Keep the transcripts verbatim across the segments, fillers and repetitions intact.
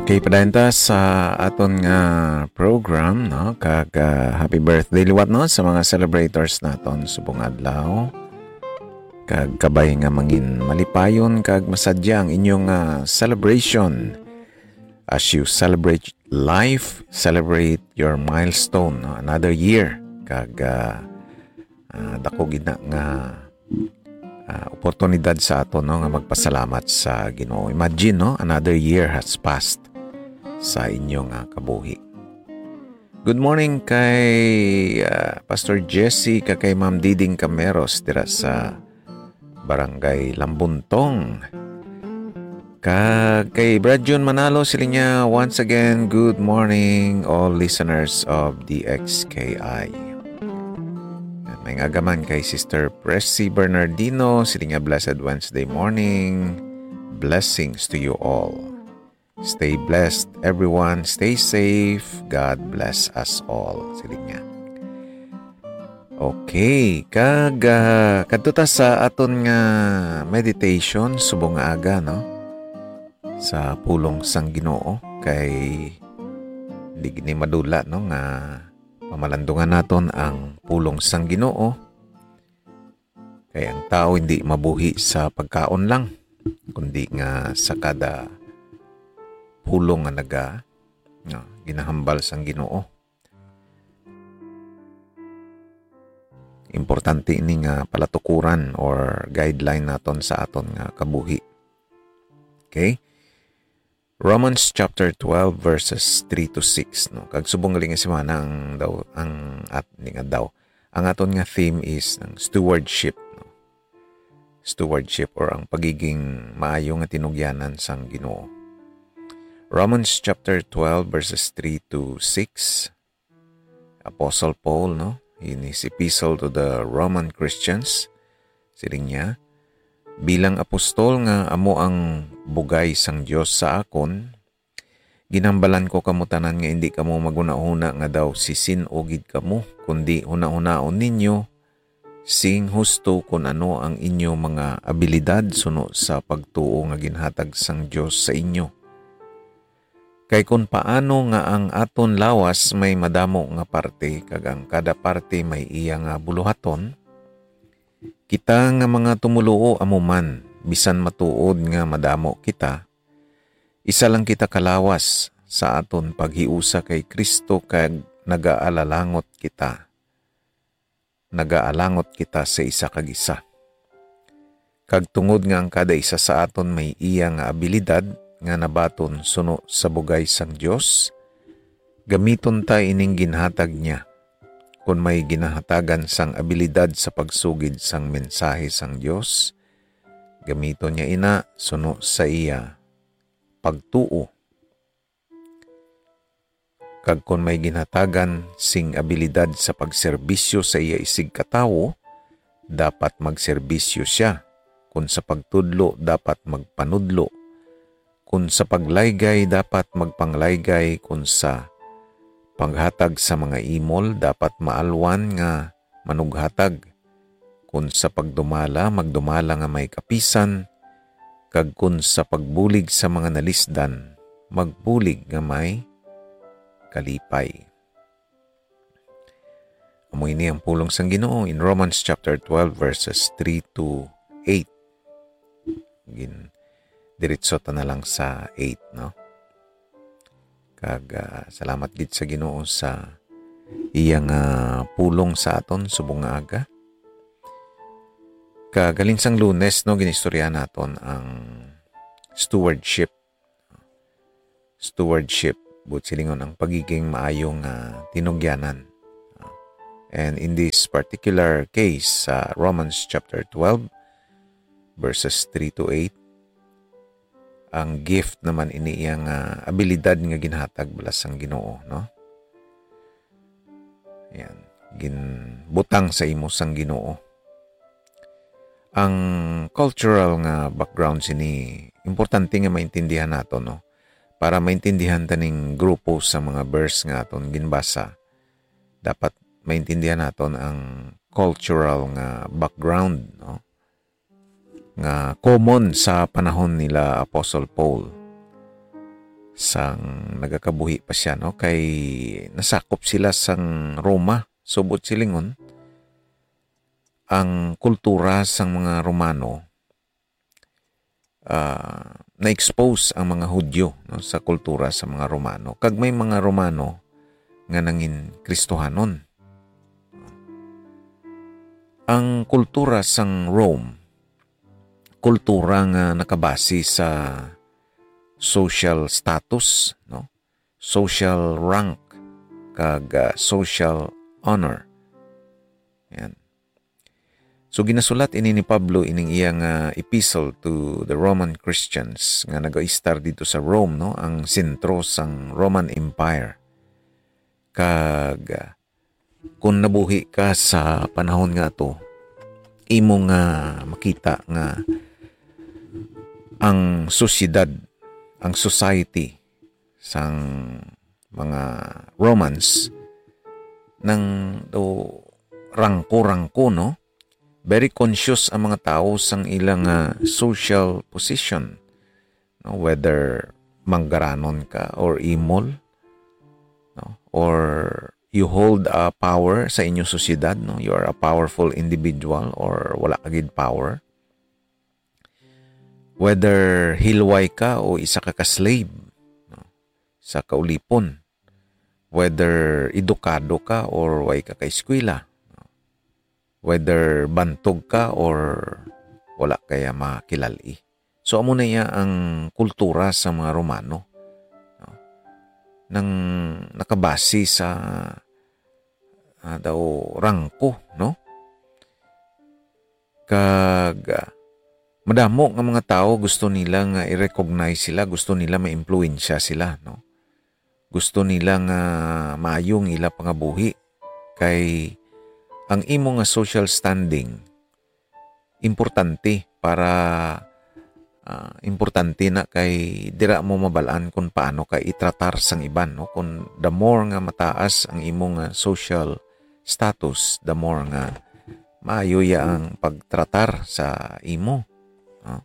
Okay, padayon ta sa aton nga program, no? Kag, ah, happy birthday liwat, no, sa mga celebrators naton subong adlaw. Kag kabay nga mangin malipayon kag masadya ang inyong, ah, celebration. As you celebrate life, celebrate your milestone, no? Another year. Kag, ah, ah, dako gid na nga, ah, oportunidad sa aton, no, nga magpasalamat sa Ginoo. Imagine, no, another year has passed sa inyo nga kabuhi. Good morning kay, ah, Pastor Jesse, kag kay Ma'am Diding Cameros dira sa Barangay Lambuntong. Kag kay Brad Jun Manalo, siling niya, once again, good morning, all listeners of D X K I. May nga gaman kay Sister Pressy Bernardino, siling niya, blessed Wednesday morning. Blessings to you all. Stay blessed, everyone. Stay safe. God bless us all, siling niya. Okay, kag, ah, kadto ta sa aton nga meditation subong nga aga, no? Sa pulong sang Ginoo, kay di gid ni madula, no, nga pamalandungan naton ang pulong sang Ginoo. Kay ang tao hindi mabuhi sa pagkaon lang, kundi nga sa kada pulong nga naga-, nga ginahambal sang Ginoo. Importante ini nga palatukuran or guideline naton sa aton nga kabuhi. Okay? Romans chapter twelve, verses three to six, no? Kag subong gali nga semana ang daw, ang at-, di nga daw, ang aton nga theme is ang stewardship, no? Stewardship or ang pagiging maayo nga tinugyanan sang Ginoo. Romans chapter twelve, verses three to six. Apostle Paul, no, in his epistle to the Roman Christians, siling niya, "Bilang apostol nga amo ang bugay sang Dios sa akon, ginhambalan ko kamo tanan nga indi kamo maghunahuna nga daw sisin-o gid kamo, kundi hunahunaon ninyo sing husto kun ano ang inyo mga abilidad suno sa pagtuo nga ginhatag sang Dios sa inyo. Kay kun paano nga ang aton lawas may madamo nga parte, kag ang kada parte may iya nga buluhaton, kita nga mga tumoluo amo man, bisan matuod nga madamo kita, isa lang kita ka lawas sa aton paghiusa kay Cristo, kag nagaalalangot kita. Nagaalangot kita sa isa kag isa. Kag tungod nga ang kada isa sa aton may iya nga abilidad nga nabaton suno sa bugay sang Dios, gamiton ta ining ginhatag niya. Kon may ginahatagan sang abilidad sa pagsugid sang mensahe sang Dios, gamiton niya ina suno sa iya pagtuo. Kag kon may ginhatagan sing abilidad sa pagserbisyo sa iya isigkatawo, dapat magserbisyo sia. Kon sa pagtudlo, dapat magpanudlo. Kon sa paglaygay, dapat magpanglaygay. Kon sa paghatag sa mga imol, dapat maalwan nga manughatag. Kon sa pagdumala, magdumala nga may kapisan, kag kon sa pagbulig sa mga nalisdan, magbulig nga may kalipay. Amo ini ang pulong sang Ginoo in Romans chapter twelve, verses three to eight. Gin-, diretso ta na lang sa eight, no? Kag, ah, salamat gid sa Ginoo sa iya nga pulong sa aton subong nga aga. Kag halin sang Lunes, no, ginistoryahan naton ang stewardship. Stewardship, buot silingon, ang pagiging maayo nga tinugyanan. And in this particular case, sa Romans chapter twelve, verses three to eight, ang gift naman ini iya nga abilidad nga ginhatag bala sang Ginoo, no? Yan, ginbutang sa imo sang Ginoo. Ang cultural nga background sini, importante nga maintindihan nato, no? Para maintindihan ta ning grupo sa mga verse nga aton ginbasa, dapat maintindihan naton ang cultural nga background, no? Nga common sa panahon nila Apostle Paul. sang nagakabuhi pa siya, no? Kay nasakop sila sang Roma. Subot silingon, ang kultura sang mga Romano, ah, na-expose ang mga Hudyo, no, sa kultura sa mga Romano. Kag may mga Romano nga nangin Kristohanon. Ang kultura sang Rome, kultura nga nakabase sa social status, no? Social rank, kag, ah, social honor. Yan. So, ginasulat ini ni Pablo ining iya nga epistle to the Roman Christians nga nagaistar dito sa Rome, no? Ang sentro sang Roman Empire. Kag, ah, kung nabuhi ka sa panahon nga to, imo nga makita nga ang sosyedad, ang society sang mga Romans nang do rangko-rangko, no? Very conscious ang mga tawo sang ilang, ah, social position, no? Whether manggaranon ka or imol, no? Or you hold a power sa inyong sosyedad, no? You are a powerful individual or wala ka gid power. Whether hilway ka o isa ka ka-slave, no? Sa kaulipon. Whether edukado ka or way ka ka-eskwela, no? Whether bantog ka or wala kaya makilali. So, amo na iya ang kultura sa mga Romano, no? Nang nakabase sa, ah, daw rangko, no? Kag, ah, madamo nga mga tawo gusto nila nga i-recognize sila, gusto nila maimpluwensya sila, no? Gusto nila nga maayo ang ila pangabuhi, kay ang imo nga social standing importante para, ah, importante na kay dira mo mabal-an kung paano ka itratar sang iban, no? Kung the more nga mataas ang imo nga social status, the more nga maayo ya ang pagtratar sa imo, no?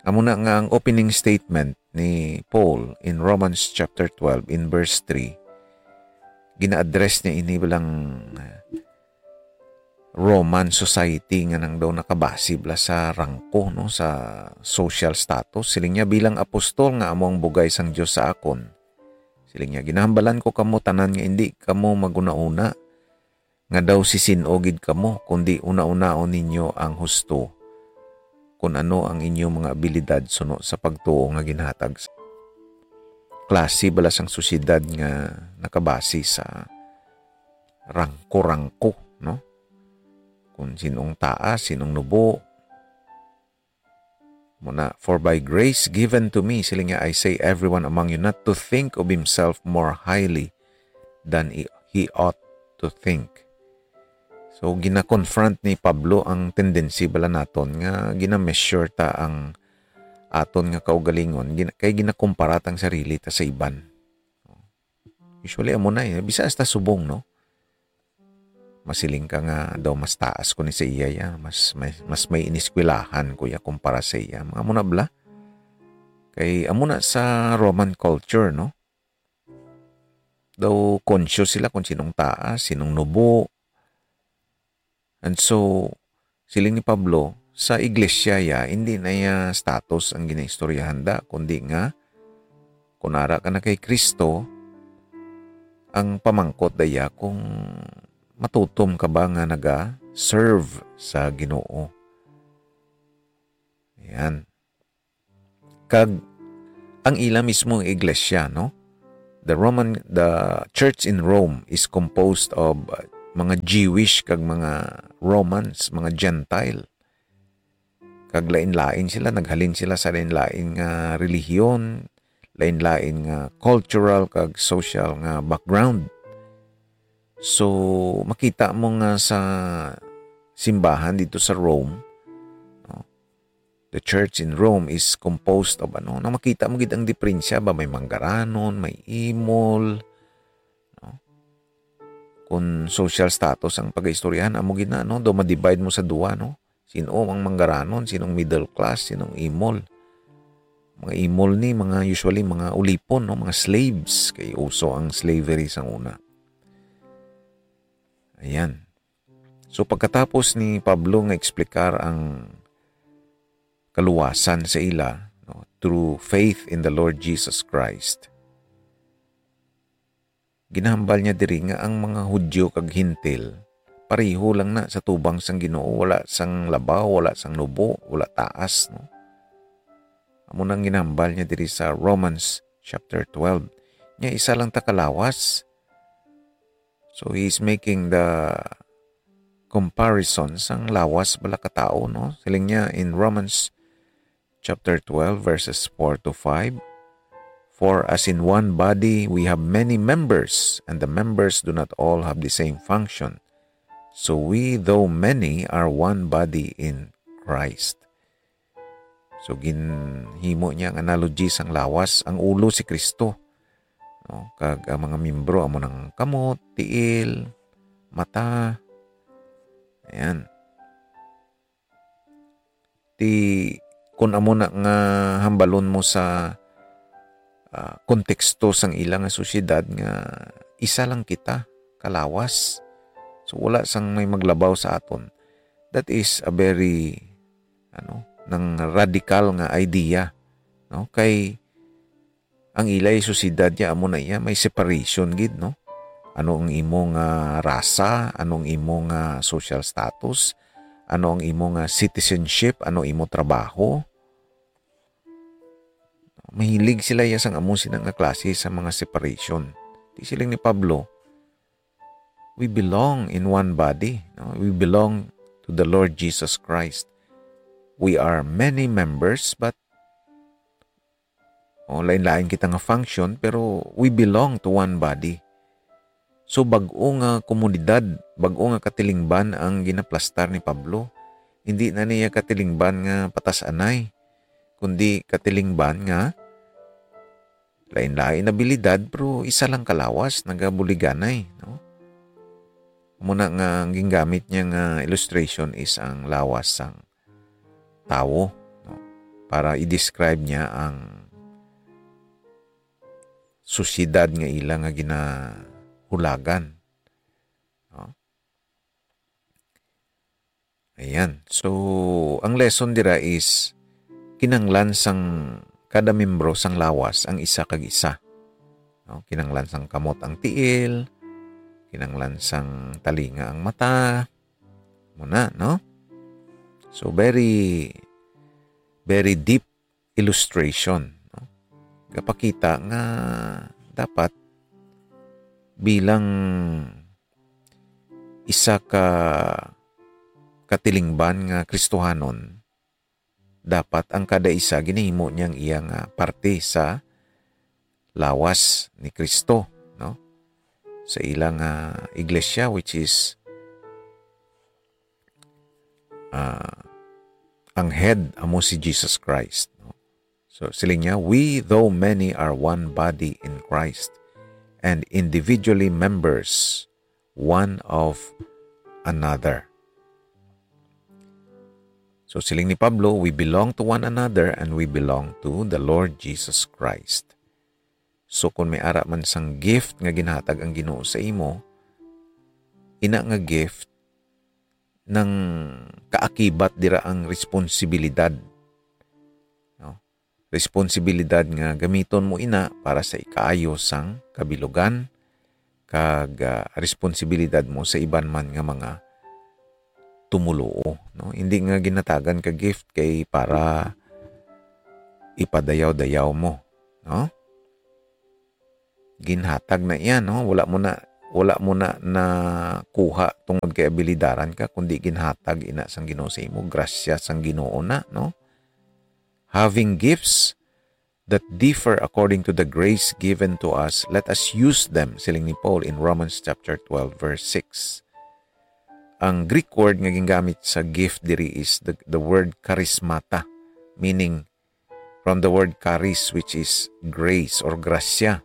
Amo na nga ang opening statement ni Paul in Romans chapter twelve in verse three. Gina-address niya ini bilang, ah, Roman society nga nang daw nakabase bala sa rangko, no, sa social status. Siling niya, "Bilang apostol nga amo ang bugay sang Dios sa akon." Siling niya, "Ginahambalan ko kamo tanan nga indi kamo maghunahuna nga daw si sin-o gid kamo, kundi hunahunaon ninyo ang husto, kun ano ang inyo mga abilidad suno sa pagtuo nga ginhatag sa klase bala sang sosyedad nga nakabase sa rangko-rangko, no? Kung sinong taas, sinong nubo. Muna, "For by grace given to me," siling niya, "I say everyone among you not to think of himself more highly than he, he ought to think." So, gina-confront ni Pablo ang tendency bala naton nga gina-measure ta ang aton nga kaugalingon, gina-, kay ginakumpara ta ang sarili ta sa iban. Usually, amo na eh. Bisa hasta subong, no? Masiling ka nga daw mas taas ko ni sa iya, ya. Mas, may, mas may iniskwelahan ko, ya, kumpara sa iya. Mga amo na bala. Kay amo na sa Roman culture, no? Daw conscious sila kung sinong taas, sinong nubo. And so, siling ni Pablo, sa iglesia ya, hindi na ya status ang ginaistoryahan da, kundi nga, kung ara ka na kay Kristo, ang pamangkot da ya kung matutom ka ba nga naga-serve sa Ginoo. Yan. Kag ang ila mismo nga iglesia, no? The Roman, the church in Rome is composed of, uh, mga Jewish kag mga Romans, mga Gentile. Kag lain-lain sila, naghalin sila sa lain-lain nga relihiyon, lain-lain nga cultural kag social nga background. So, makita mo nga sa simbahan dito sa Rome, no? The church in Rome is composed of, ano, na makita mo gid ang diferensya ba, may manggaranon, may imol, no? Kung social status ang pag-istoryahan, amo gid na, no? Do ma-divide mo sa duwa, no? Sino ang manggaranon, sinong middle class, sinong imol. mga imol ni, mga, usually, mga ulipon, no? Mga slaves, kay uso ang slavery sang una. Ayan. So, pagkatapos ni Pablo nga explicar ang kaluwasan sa ila, no, through faith in the Lord Jesus Christ, ginahambal niya diri nga ang mga Hudiyo kag Gentil pareho lang na sa tubang sang Ginoo, wala sang labaw, wala sang nubo, wala taas, no? Amo nang ginahambal niya diri sa Romans chapter twelve. Nya isa lang ta kalawas. So he is making the comparison sang lawas bala ka tawo, no? Siling niya in Romans chapter twelve, verses four to five, "For as in one body we have many members, and the members do not all have the same function, so we, though many, are one body in Christ." So, ginhimo niya ang analogy sang lawas, ang ulo si Kristo, no? Kag ang mga miyembro amo nang kamot, tiil, mata. Ayan. Ti, kun amo na nga hambalon mo sa, ah, konteksto sang ila nga sosyedad nga isa lang kita kalawas. So, wala sang may maglabaw sa aton. That is a very, ano, nang radikal nga idea, no? Kay ang ilay sosyedad niya, amo na iya, may separation gid, no? Ano ang imo nga rasa, ano ang imo nga social status, ano ang imo nga citizenship, ano imo trabaho. Mahilig sila iya sang amo sina nga klase sa mga separation. Di siling ni Pablo, we belong in one body, no? We belong to the Lord Jesus Christ. We are many members, but O, lain-lain kita nga function, pero we belong to one body. So, bag-o nga komunidad, bag-o nga katilingban ang ginaplastar ni Pablo. Hindi na niya katilingban nga patas-anay, kundi katilingban nga lain-lain abilidad, pero isa lang kalawas, nagabuliganay, no? Muna nga ang gingamit niya nga illustration is ang lawas sang tawo, no? Para i-describe niya ang sosyedad nga ila nga ginahulagan, no? Ayan. So, ang lesson dira is kinanglan sang kada membro sang lawas ang isa kag isa. No? Kinanglan sang kamot ang tiil, kinanglan sang talinga ang mata. Muna, no? So, very, very deep illustration, no? Gapakita nga dapat bilang isa ka katilingban nga Kristohanon, dapat ang kada isa ginahimo niyang iya nga parte sa lawas ni Kristo, no? Sa ila nga iglesia, which is, ah, ang head amo si Jesus Christ, no? So, siling niya, "We, though many, are one body in Christ, and individually members one of another." So, siling ni Pablo, "We belong to one another and we belong to the Lord Jesus Christ." So, kung may ara man sang gift nga ginhatag ang Ginoo sa imo, ina nga gift nang kaakibat dira ang responsibilidad. No? Responsibilidad nga gamiton mo ina para sa ikaayo sang kabilugan, kag, ah, responsibilidad mo sa iban man nga mga tumuluo, no? Hindi nga ginatagan ka gift kay para ipadayaw-dayaw mo, no? Ginhatag na iya, no? Wala mo na, wala mo na nakuha tungod kay abilidaran ka, kundi ginhatag ina sang Ginoo sa imo, grasya sang Ginoo na, no? Having gifts that differ according to the grace given to us, let us use them, siling ni Paul in Romans chapter twelve, verse six. Ang Greek word nga gingamit sa gift diri is the, the word charismata, meaning from the word charis, which is grace or grasya.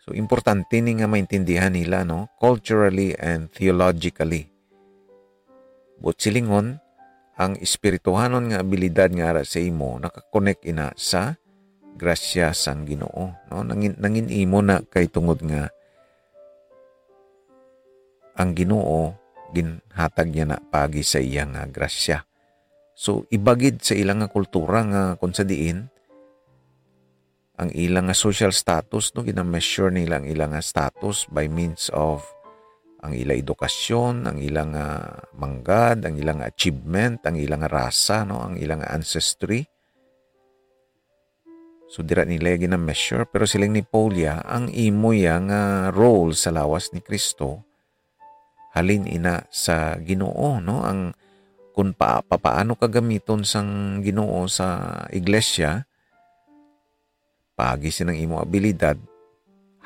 So, importante ni nga maintindihan nila, no? Culturally and theologically. Buot silingon, ang espirituhanon nga abilidad nga ara sa imo nakakonek ina sa grasya sang Ginoo, no? Nangin, nangin imo na kay tungod nga ang Ginoo ginhatag niya na paagi sa iya nga grasya. So, iba gid sa ila nga kultura nga kung sa diin ang ila nga social status, no, gina-measure nila ang ila nga status by means of ang ila edukasyon, ang ila nga manggad, ang ila nga achievement, ang ila nga rasa, no, ang ila nga ancestry. So, dira nila gina-measure, pero siling ni Paul ya, ang imo ya nga role sa lawas ni Cristo, halin ina sa Ginoo, no? Ang, kung pa, papaano ka gamiton sang Ginoo sa iglesia, paagi sinang imo abilidad,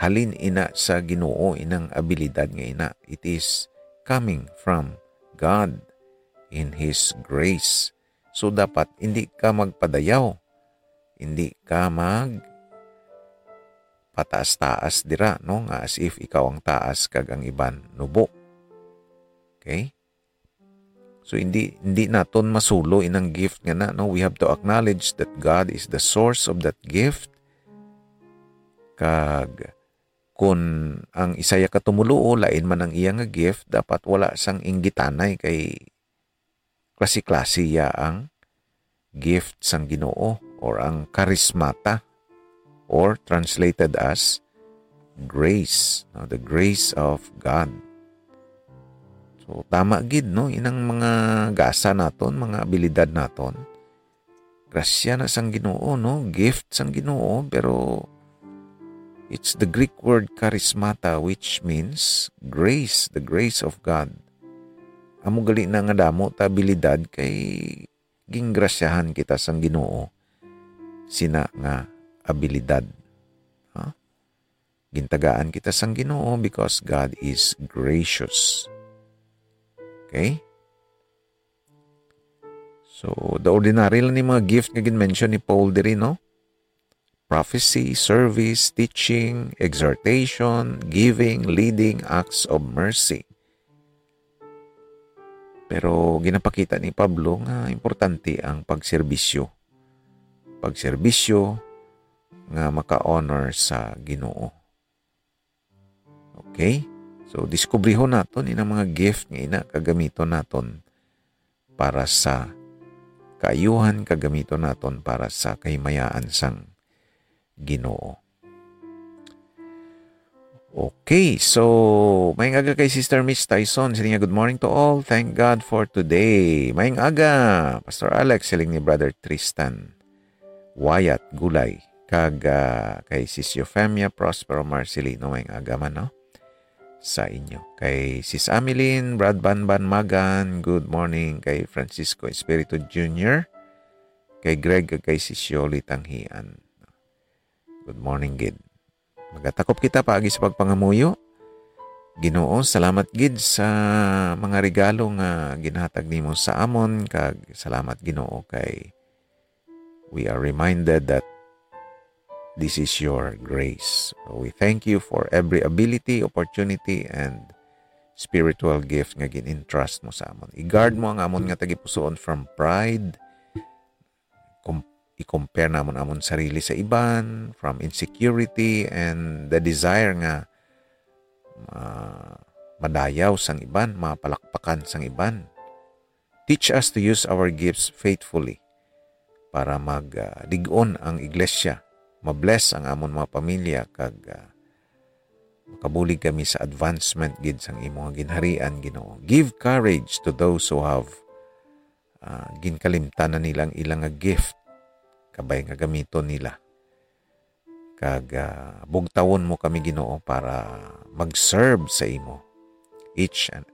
halin ina sa Ginoo inang abilidad nga ina. It is coming from God in His grace. So, dapat hindi ka magpadayaw. Hindi ka mag pataas-taas dira, no? Nga as if ikaw ang taas kag ang iban nubo. Okay? So, hindi, hindi naton masulo inang gift nga na, no? We have to acknowledge that God is the source of that gift. Kag kun ang isa ya ka tumoluo, lain man ang iya nga gift, dapat wala sang inggitanay kay klase-klase ya ang gift sang Ginoo or ang karismata, or translated as grace, no? The grace of God. So, tama gid, no? Inang mga gasa naton, mga abilidad naton, grasya na sang Ginoo, no? Gift sang Ginoo, pero it's the Greek word charismata, which means grace, the grace of God. Amo gali na nga damo ta abilidad kay gingrasyahan kita sang Ginoo sina nga abilidad. Ha? Gintagaan kita sang Ginoo because God is gracious. Okay? So, the ordinary lang ni mga gift nga gin-mention ni Paul diri, no? Prophecy, service, teaching, exhortation, giving, leading, acts of mercy. Pero ginapakita ni Pablo nga importante ang pagserbisyo. Pagserbisyo nga maka-honor sa Ginoo. Okay? So, diskubrihon naton inang mga gift nga ina kagamiton naton para sa kaayuhan, kagamiton naton para sa kahimayaan sang Ginoo. Okay, so, maayong aga kay Sister Miss Tyson. Siling niya, "Good morning to all. Thank God for today." Maayong aga, Pastor Alex, siling ni Brother Tristan Wyatt Gulay. Kag, ah, kay Sis Eufemia Prospero Marcelino, maayong aga man, no? Sa inyo. Kay Sis Ameline Bradbanban Magan, good morning. Kay Francisco Espiritu Junior, kay Greg, kag kay Sis Yoli Tanghian. Good morning gid. Magatakop kita paagi sa pagpangamuyo. Ginoo, salamat gid sa mga regalo nga ginhatag nimo sa amon, kag salamat, Ginoo, kay we are reminded that this is your grace. We thank you for every ability, opportunity, and spiritual gift nga gin-entrust mo sa amon. I-guard mo ang amon nga tagipusoon from pride, com-, i-compare namon amon sarili sa iban, from insecurity and the desire nga, ah, madayaw sang iban, mapalakpakan sang iban. Teach us to use our gifts faithfully para mag, ah, lig-on ang iglesia, ma-bless ang amon mga pamilya, kag, ah, makabulig kami sa advancement gid sang imo nga ginharian, Ginoo. Give courage to those who have, ah, ginkalimtan na nila ang ilang nga gift, kabay nga gamiton nila. Kag, ah, bugtawon mo kami, Ginoo, para mag-serve sa imo each and